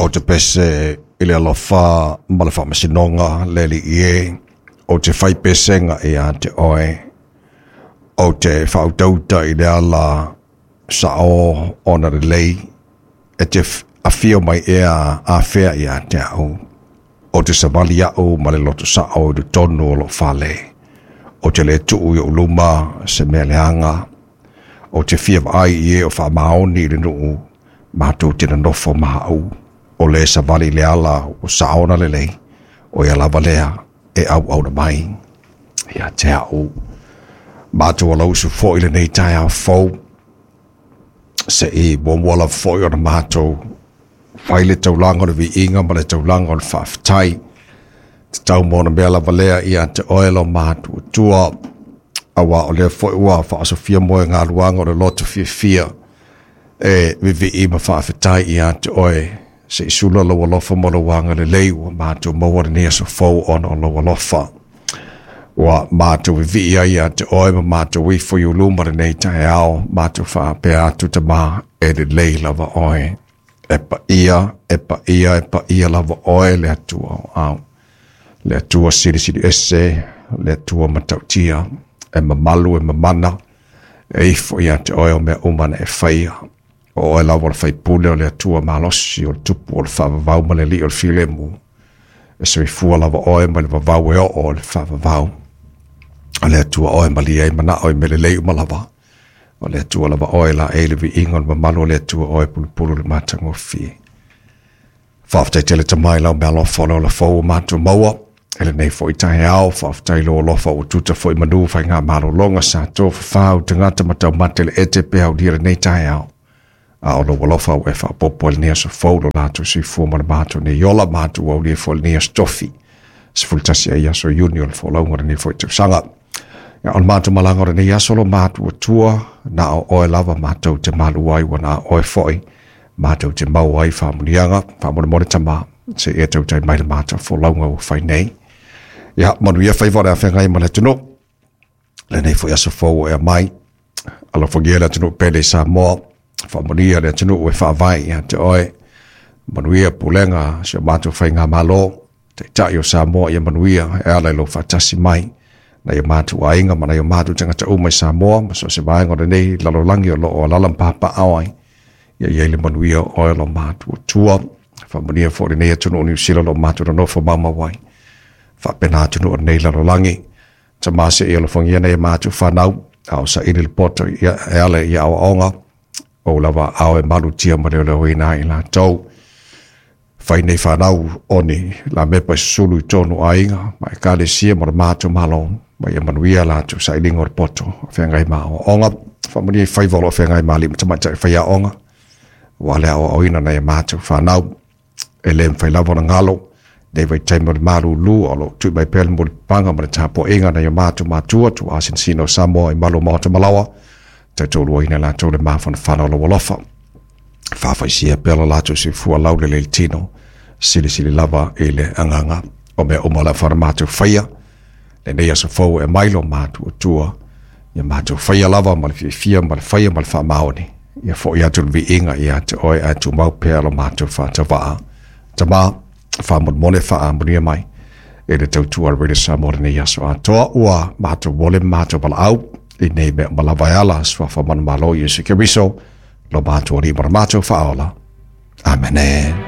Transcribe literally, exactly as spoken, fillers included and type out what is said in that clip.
O te pese i le alofa ma le faamasinoga le Alii e, o te fai pesega ia te oe, o te faautauta i le ala sao ona lelei, e te afio mai ea afea ia te au, o te savali au ma le loto sao i totonu o lou fale, o te le tuu i ou luma se mea leaga, o te fia vaai i e o faamaoni i le nuu, matou te nonofo ma au, o le savali le ala o saona lelei, o ia lava lea e auauna mai ia te au. Matou alausu foi lenei taeao fou, se i muamua lava foi ona matou fai le taulaga o le viiga ma le taulaga o le faafetai, tatau mo ona mea lava lea ia te oe lo matuatua, aua o lea foi ua faasofia mo e galuaga o le loto fiafia e vivii ma faafetai ia te oe, se i sula lou alofa ma lou agalelei ua matou maua lenei aso fou ona o lou alofa. Ua matou vivii ai ia te oe ma matou ifo i uluma lenei taeao, matou faapea atu Tama e lelei lava oe. E paia, e paia, e paia lava oe le Atua o au. Le Atua silisili ese, le Atua matautia, e mamalu e mamana, e ifo ia te oe o mea uma na e faia. O oe lava o le faipule o le Atua malosi, o le tupu o le faavavau ma le alii o le filemu. E soifua lava oe ma le vavau e oo o le faavavau. O le Atua oe malie ai manao i mea lelei uma lava. O le Atua lava oe la e le viiga o le mamalu o le Atua oe pulupulu le matagofie. Faafetai tele Tama i lau meaalofa o le ola fou o matou maua. E lenei foi taeao, faafetai lou alofa ua tuta foi manu faigamalologa sa tofafau tagata ma taumate le ete pe aulia lenei taeao. A o lou alofa ua e faaopoopo i lenei aso fou lo latou soifua ma le matou nei ola, matou aulia foi lenei aso tofi. Sefulu tasi ai aso Iuni o le folauga o lenei foi tausaga. Ia, o le matou malaga o lenei aso lo matou atua, na o oe lava matou te malu ai, ua na o oe foi matou te maua ai faamuniaga, faamolemole Tama, se e tautai mai le matou folauga ua fai nei. Ia, manuia faiva o le afeagai ma le atunuu. Lenei foi aso fou ua ea mai, alofagia le atunuu pele i Samoa, faamanuia le atunuu e faavae ia te oe, manuia pulega si o matou faigamalo, taitai o Samoa ia manuia e ala i lou faatasi mai, nai o matou aiga ma nai o matou tagata uma i Samoa, ma so o se vaega o lenei lalolagi o loo alaala ma papaao ai, ia i ai le manuia o oe lo matou Atua. Faamanuia foi lenei atunuu o Niu Sila o lo matou nonofo maumau ai, faapena atunuu o lenei lalolagi. Tama se i alofagia nai a matou fanau, a o saili le poto ia e ala i aoaoga, o lava ao e malutia ma leoleoina ai latou. Fai nei fanau o ni la mepa i susulu i tonu aiga, ma ekalesia ma le matou malo, ma ia manuia latou sailiga o le poto, o feagai ma aoaoga. Faamanuia i faiva o lo o feagai ma alii ma tamaitai faiaoga, ua le aoaoina nai a matou fanau, e le mafai lava ona galo, nei vaitaimi o le malūlū, o lo o tui mai pea le mulipapaga ma le tapuaiga nai o matou matua, tuuasinasina o Samoa i malu o maota malaoa, tautoluaina latou le mafanafana o lou alofa. Faafaisia pea lo latou soifua laulelei le tino, silisili lava i le agaga o mea uma o le a fana matou faia, lenei aso fou e mai lo matou Atua, ia matou faia lava ma le fiafia ma le faia ma le faamaoni, ia foi atu le viiga ia te oe ae tumau pea lo matou faatavaa. Tama, faamolemole faamanuia mai e le tautua a Radio Samoa lenei aso atoa, ua matou mole ma matou valaau i nei mea uma lava e ala suafa manumalo Iesu Keriso, lo matou Alii ma le matou faaola. Amene.